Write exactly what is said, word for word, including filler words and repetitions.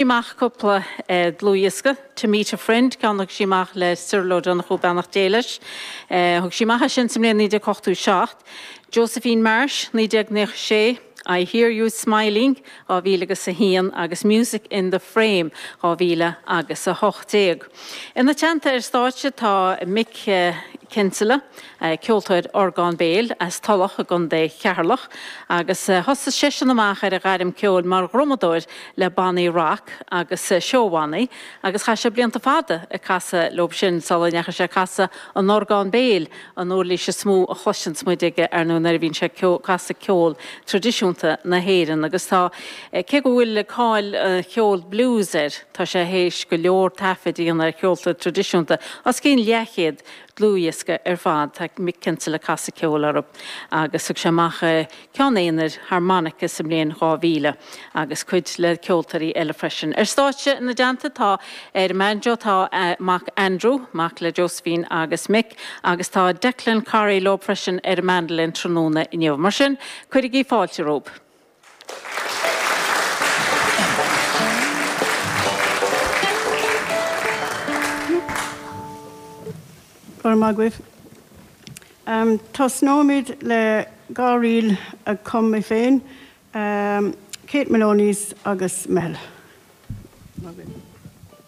Amach cúpla dlúthdhiosca, To Meet a Friend, ceann a thug sí amach le Cyril Ó Donnchú, beannacht Dé leis. Thug sí amach é sin sa mbliain naoi déag ochtó seacht. Josephine Marsh, naoi déag naocha sé, I Hear You Smiling, dhá mhíle agus a haon agus Music in the Frame, dhá mhíle agus a hocht déag. Ina teannta ar stáitse tá Mick Kinsella, ceoltóir orgán béil as Tulach i gContae Cheatharlach, agus thosaigh seisean amach ar a ghairm ceoil mar dhrumadóir le bannaí rac agus seóbhannaí, agus chaith sé blianta fada ag casadh leo sin sula ndeachaigh sé ag casadh an orgán béil, an uirlis is mó a chloiseanns muid aige ar ndóigh nuair a bhíonn sé ag casadh ceol traidisiúnta na hÉireann. Agus tá, cé go bhfuil cáil cheol blues air, tá sé théis go leor taifid a dhéanamh ar cheolta traidisiúnta, os cionn leathchéad dlúthdhiosca ar fad, tá Mick Kinsella ag casadh ceoil orthu agus thug sé amach ceann aonair harmonica sa mbliain dhá mhíle agus cuid le ceoltóirí eile freisin. Ar stáitse ina dteannta tá ar an mbanjo tá a mac Andrew, mac le Josephine agus Mick, agus tá Declan Corry leo freisin ar an mandolin tráthnóna inniu. Mar sin, cuirigí fáilte rompu. Go raibh maith agaibh. Tosnóimid le dhá ríl a chum mé féin, Kate Maloney's agus Meitheal.